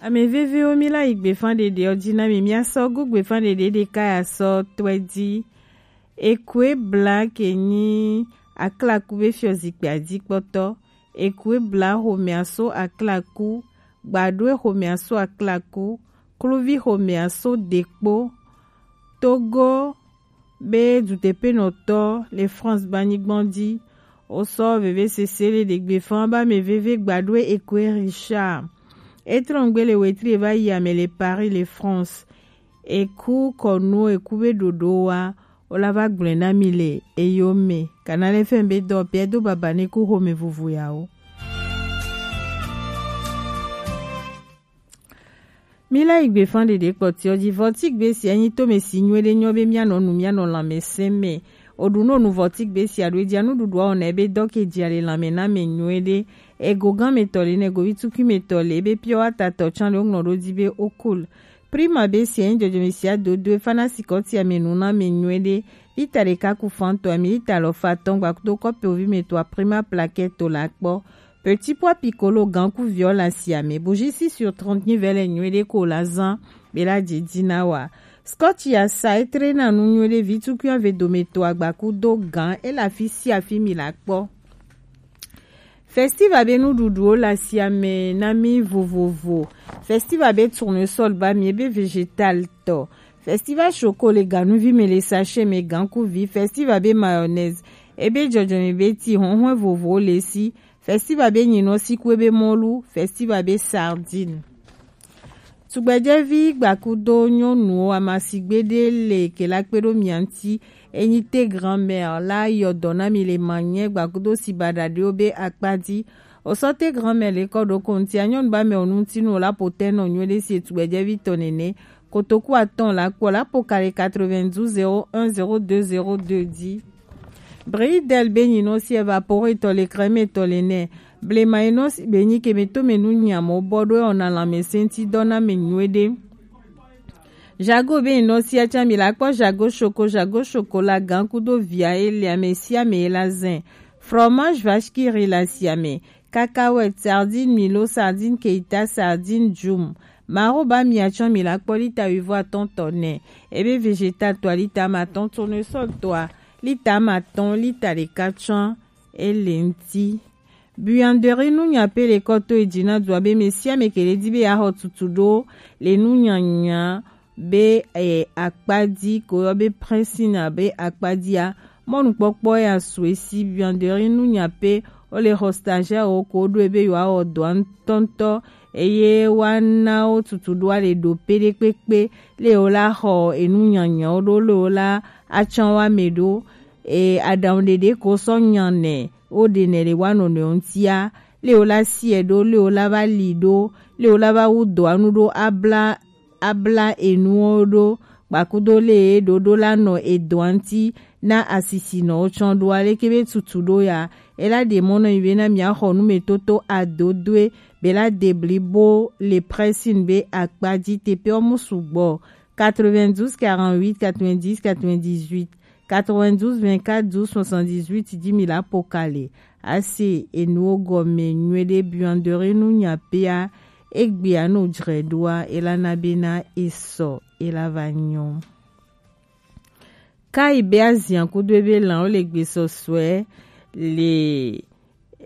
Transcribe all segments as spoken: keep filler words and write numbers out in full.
Ame vevewo, mi la yi gbefan ɖeɖe ɔ ji na mi, mi asɔ go gbefan ɖeɖe ɖeka ya sɔ tɔɛ ji. Ekue bla ke nyi aklaku be fiɔ zikpui a ji kpɔtɔ. Ekue bla xomɛ aso aklaku, gbaɖoe xomɛ aso aklaku, kluvi xomɛ aso dekpo. Togo be dutepenɔtɔ le France ba nyigbɔn ji. Wosɔ vevesese le ɖegbe fan ba mɛ veve gbaɖoe Ekue Richard. E trɔngbe le wetri e va yi ame le Paris le France. Eku kɔnu eku be ɖoɖo wa, wo la va gblɔe na mi le eyo me. Kana le fɛn be dɔ pɛ do baba ne ku xomɛ vovo ya wo. Mi la yi gbefan ɖeɖe kpɔtiɔ ji. Vɔtigbe sia nyi tome si nyuie ɖe nyɔ be mianɔ nu, mianɔ lãmesẽ me. Oɖu no nu vɔtigbe sia ɖo edzia nuɖuɖua wɔna ebe dɔ ke dzia le lãme na me nyuie ɖe. Ego gan me tɔ le ne govi tukui me tɔ le ebe piɔ atatɔ tsan le woŋlɔ ɖo dzi be okul. Prima be sia nyi dzɔdzɔme sia dodo efa na sikɔtia me nu na me nyuie ɖe. Lita ɖeka ku fan tɔ ami lita lɔ fa tɔn gba kudo kɔpe ovi me tɔ Prima plaquette to la kpɔ. Petit pois piccolo gan ku viɔ la sia me. Bougie six sur trente nyi vɛ le nyuie ɖe ko la zan be la dze dzi na wa. Scotch ya sa etre na nu nyuie ɖe vi tukui ave dome to agba kudo gan e la fi sia fi mi la kpɔ. Festival be nuɖuɖuwo le asiame na mí vovovo. Festival be tournesol ba mí ebe végétal tɔ. Festival choco le ganuvi me le sachet me gankuvi. Festival be mayonnaise ebe dzɔdzɔme be ti hɔnhɔn vovovowo le si. Festival be nyinɔ siku ebe mɔlu. Festival be sardine. Tugbɛjɛvi gbakudo nyɔnuwo amasigbe ɖe le kela kpe ɖo mia ŋuti. Enyi te grand-mère la yɔ dɔ na mi le manyɛ gbakudo si baɖaɖiwo be akpa dzi. Osɔ te grand-mère le kɔ ɖo kontia nyɔnu ba mɛ onu ŋuti nu la po tɛ nɔ nyuie ɖe si etugbɛjɛvi tɔ nene. Kotoku atɔn la kpɔ la po kale quatre-vingt-douze zéro un zéro deux zéro deux dzi. Bridel be nyinɔ si evaporetɔ le crème tɔ le nɛ. Blema enɔ si be nyi ke me to me nu nyamɔ bɔ ɖo ɔna lãmesẽ ŋuti dɔ na me nyuie ɖe. Jago be nyinɔ si atsa mi la kpɔ jago choco, jago choco la gan kudo via e le ame sia ame e la zɛn. Fromage vache qui rit la sia me. Cacahuète, sardine Milo, sardine Keita, sardine Jum. Maro ba mia tsɔ mi la kpɔ lita wuivo atɔn tɔ nɛ. Ebe végétal tɔa lita ma tɔn, tournesol tɔa lita ma tɔn, lita ɖeka tsɔ ele ŋuti. Buanderie nunya pe le kɔ to edzi na dua be me sia me ke le di be ya xɔ tutu ɖo le nunyanya be, eh, akpa dzi ko yɔ be pressing abe akpa dzia, mɔnukpɔkpɔ ya su esi buanderie nunya pe wo le xɔ stagiaire wo ko ɖo ebe yewoa wɔ dɔa ŋutɔŋutɔ eye woana wo tutu ɖoa le ɖo pe ɖe kpekpe le wo la xɔ enu nyanyawo ɖo le wo la atsɔ wa me ɖo. E, aɖaŋu ɖeɖe ko sɔ nya nɛ wo ɖe nɛ le wa nɔnɔewo ŋutia le wo la siɛ ɖo le wo la va li ɖo le wo la va wu dɔa nu ɖo abla abla enuwo ɖo, kpakudo le ɖo ɖo la nɔ edɔa ŋuti na asisinɔwo tsɔ ɖo aleke be tutu ɖo ya. Ela ɖe mɔ nɔ yi be na mia xɔ nu me toto adodoe be la de blibo le pressing be akpa dzi teƒewo mu sugbɔ. Quatre-vingt-douze quarante-huit quatre-vingt-dix quatre-vingt-dix-huit, quatre-vingt-douze vingt-quatre douze soixante-dix-huit dzi mi la po kale. Ase enuwo gɔme nyuie ɖe buanderie nunya pea, egbea no dzre ɖoa, ela na bena esɔ, ela va nyɔ. Kai be azia kudo ebe lãwo le gbesɔsɔe le,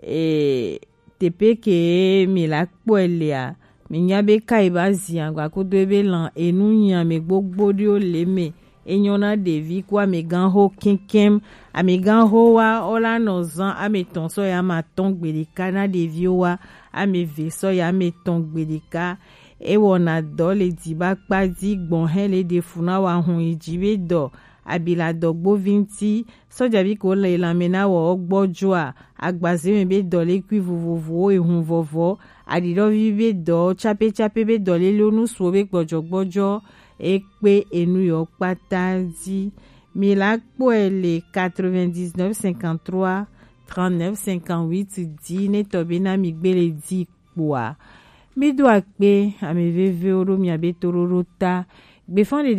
e, teƒe ke mi la kpɔe lea, mi nya be kai be azia gba kudo ebe lã enu nya me gbogbo ɖewo le me. Enyɔ na ɖevi ku amegãxo kɛkɛm. Amegãxo wa wo la nɔ zan ame etɔn sɔ ya ame atɔn gbeɖeka na ɖeviwo wa ame eve sɔ ya ame etɔn gbeɖeka. Ewɔna dɔ le dziba kpa dzi gbɔn hɛn le ɖe fu na wa hun yi dzi be dɔ abi la dɔ gbovi ŋuti. Sɔjavi ko le lanmɛ na wɔ gbɔjoa, agbaze me be dɔ le kui vovovowo ehun vɔvɔ, aɖiɖɔvi be dɔ, tsape tsape be dɔ le lo nusuwo be gbɔjɔ gbɔjɔ ekpe enu yɔ kpata dzi. Mi la kpɔe le quatre-vingt-dix-neuf cinquante-trois trente-neuf cinquante-huit dzi ne tɔ be na mi gbe le dzi kpoa. Mi do akpe ame vevewo ɖo mia be toɖoɖo ta. Gbefan ɖeɖe